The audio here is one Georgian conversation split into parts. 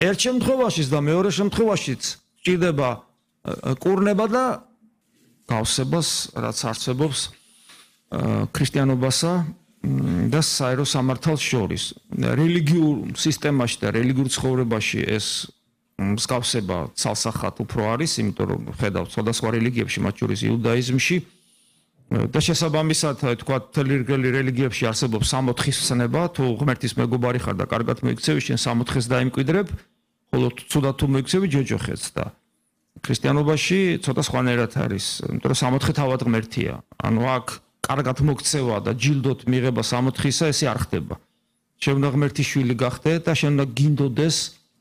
ერთ შემთხვევაშიც და მეორე შემთხვევაშიც ჭირდება კურნება და გავსებას, რაც არსებობს ქრისტიანობასა და საერო სამართალს შორის. რელიგიურ სისტემაში და რელიგიურ ცხოვრებაში ეს მსგავსება ცალსახად უფრო არის, იმიტომ რომ ხედავთ სხვადასხვა რელიგიებში, მათ შორის იუდაიზმში და შესაბამისად, თქვა, რელიგიებში არსებობს 64-ის ცნება, თუ ღმერთის მეგობარი ხარ და კარგად მოიქცევი, შენ 64-ს დაიმკვიდრებ, ხოლო ცუდად თუ მოიქცევი, ჯოჯოხეთს და ქრისტიანობაში ცოტა სხვანაირად არის, იმიტომ რომ 64 თავად ღმერთია. ანუ აქ კარგად მოქცევა და ჯილდოთ მიღება 64-ისა, ესე არ ხდება. შენ უნდა ღმერთის შვილი გახდე და შენ უნდა გინდოდეს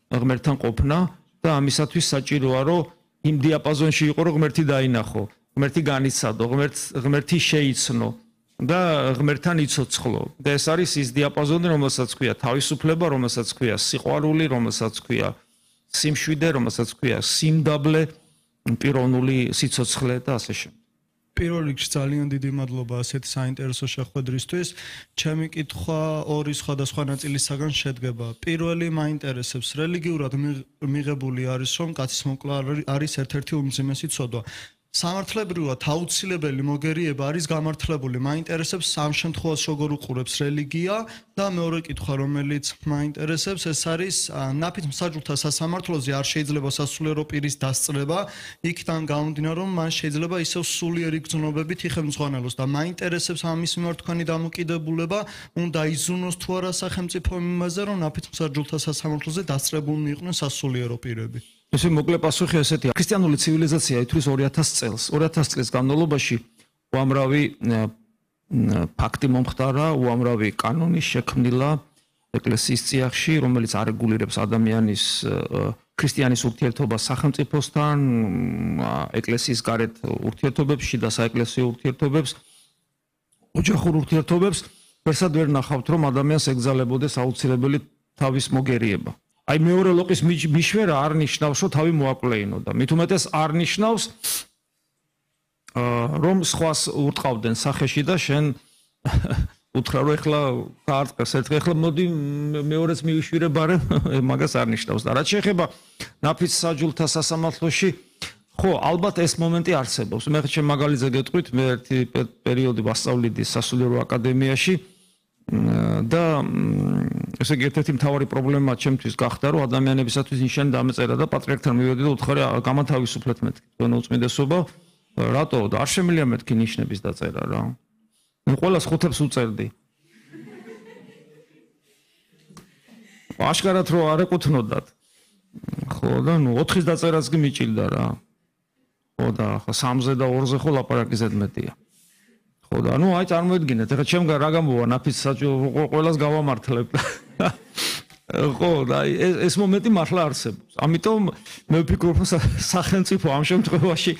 ღმერთთან ყოფნა და ამისათვის საჭიროა, რომ იმ დიაპაზონში იყო, რომ ღმერთი დაინახო, ღმერთი განიცადო, ღმერთი შეიცნო და ღმერთთან იცოცხლო. და ეს არის ის დიაპაზონი, რომელსაც ქვია თავისუფლება, რომელსაც ქვია სიყვარული, რომელსაც ქვია სიმშვიდე, რომელსაც ქვია სიმდაბლე, პიროვნული სიცოცხლე და ასე შემდეგ. პირველ რიგში ძალიან დიდი მადლობა ასეთი საინტერესო შეხვედრისთვის. ჩემი კითხვა ორი სხვადასხვა ნაწილისაგან შედგება. პირველი მაინტერესებს, რელიგიურად მიღებული არის, რომ კაცის მოკლა არის ერთ-ერთი უმძიმესი ცოდვა. სამართლებრივად აუცილებელი მოგერიება არის გამართლებული. მაინტერესებს ამ შემთხვევაში როგორ უყურებს რელიგია და მეორე კითხვა, რომელიც მაინტერესებს, ეს არის ნაფიც მსაჯულთა სასამართლოზე არ შეიძლება სასულიერო პირის დასწრება, იქიდან გამომდინარე, რომ მან შეიძლება ისევ სულიერი გრძნობებით იხელმძღვანელოს და მაინტერესებს ამის მიმართ თქვენი დამოკიდებულება, უნდა იზრუნოს თუ არა სახელმწიფო იმაზე, რომ ნაფიც მსაჯულთა სასამართლოზე დასწრებულნი იყვნენ სასულიერო პირები. ესე მოკლე პასუხი ესეთია. ქრისტიანული ცივილიზაცია ითვლის 2000 წელს. 2000 წლის განმავლობაში უამრავი ფაქტი მომხდარა, უამრავი კანონი შექმნილა ეკლესიის წიაღში, რომელიც არეგულირებს ადამიანის ქრისტიანის ურთიერთობას სახელმწიფოსთან, ეკლესიის გარეთ ურთიერთობებში და საეკლესიო ურთიერთობებს, ოჯახურ ურთიერთობებს, ვერსად ვერ ნახავთ, რომ ადამიანს ეგზალებოდეს აუცილებელი თავის მოგერიება. აი მეორე ლოყის მიშვერა არ ნიშნავს, რომ თავი მოაკლეინო და მით უმეტეს არ ნიშნავს, რომ სხვას ურტყავდნენ სახეში და შენ უთხრა, რომ ეხლა გაარტყეს ერთხელ, ეხლა მოდი მეორეც მივიშვირებარე, მაგას არ ნიშნავს და რაც შეეხება ნაფიც მსაჯულთა სასამართლოში, ხო, ალბათ ეს მომენტი არსებობს. მე ჩემ მაგალითზე გეტყვით, მე ერთი პერიოდი ვასწავლიდი სასულიერო აკადემიაში და ესე იგი ერთ-ერთი მთავარი პრობლემა ჩემთვის გახდა, რომ ადამიანებისათვის ნიშანი დამეწერა და პატრიარქთან მივედი და უთხარი, გამათავისუფლეთ მეთქი თქვენ უწმიდესობა, რატო? და არ შემიძლია მეთქი ნიშნების დაწერა რა. მე ყველას ხუთებს უწერდი. აშკარად რომ არ ეკუთვნოდათ. ხო და ნუ 4-ის დაწერაც კი მიჭირდა რა. ხო და 3-ზე და 2-ზე ხო ლაპარაკი ზედმეტია. ხო და ნუ აი წარმოედგინეთ, ეხლა ჩემ რა გამოვა ნაფიც ყველას გავამართლებ. ხო და ეს მომენტი მართლა არსებობს. ამიტომ მე ვფიქრობ, რომ სახელმწიფო ამ შემთხვევაში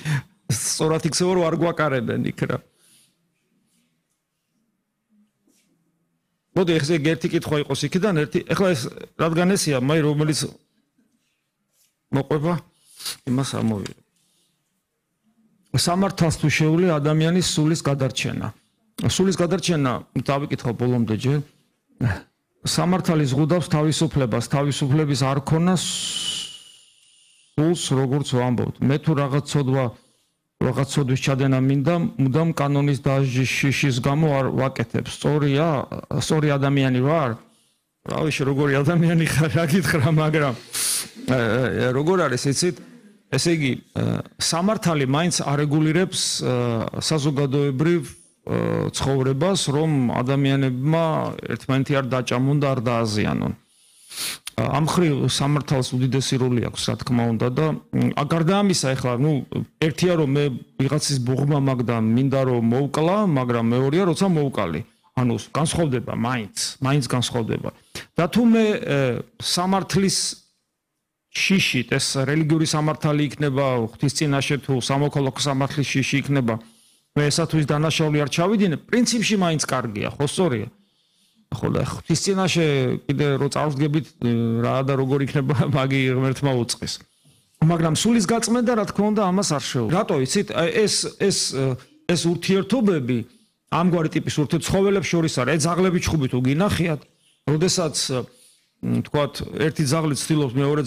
სწორად იქცევა, რომ არ გვაკარებენ იქ რა. მოდი ეს ერთი კითხვა იყოს იქიდან, ერთი. ეხლა ეს რადგან ესია, მაი რომელიც მოყვება, იმას ამოვიღებ. სამართალს თუ შეუძლია ადამიანის სულის გადარჩენა. სულის გადარჩენა დავიკითხავ ბოლომდე ჯერ. სამართალი ზღუდავს თავისუფლებას, თავისუფლების არ ქონა სულს როგორც ვამბობთ. მე თუ რაღაც ცოდვის ჩადენა მინდა, მუდამ კანონის დაჟიშის გამო არ ვაკეთებ. სწორი ადამიანი ვარ? რავი, როგორი ადამიანი ხარ, რა გითხრა, მაგრამ როგორ არის იცით? ესე იგი, სამართალი მაინც არეგულირებს საზოგადოებრივ ცხოვრებას, რომ ადამიანებმა ერთმანეთი არ დაჭამონ და არ დააზიანონ. ამ მხრივ სამართალს უდიდესი როლი აქვს, რა თქმა უნდა და გარდა ამისა, ეხლა, ერთია რომ მე ვიღაცის ბუღმა მაგ და მინდა რომ მოვკლა, მაგრამ მეორეა როცა მოვკალი. ანუ განსხვავდება მაინც განსხვავდება. და თუ მე სამართლის შიშით ეს რელიგიური სამართალი იქნება, ღვთის წინაშე თუ სამოქალაქო სამართლის შიში იქნება, მე ესათვის დანაშაული არ ჩავიდინე, პრინციპში მაინც კარგია, ხო სწორია. ხო და ღვთის წინაშე კიდე რო წავსდგებით რა და როგორ იქნება მაგი ღმერთმა უწყეს. მაგრამ სულის გაწმენდა რა თქმა უნდა ამას არ შეუძლია. რატო იცით? ეს ურთიერთობები ამგვარი ტიპის ურთიერთცხოველებს შორის არის. ძაღლები ჩხუბით უგინახიათ, როდესაც თქვათ ერთი ძაღლი ცდილობს მეორე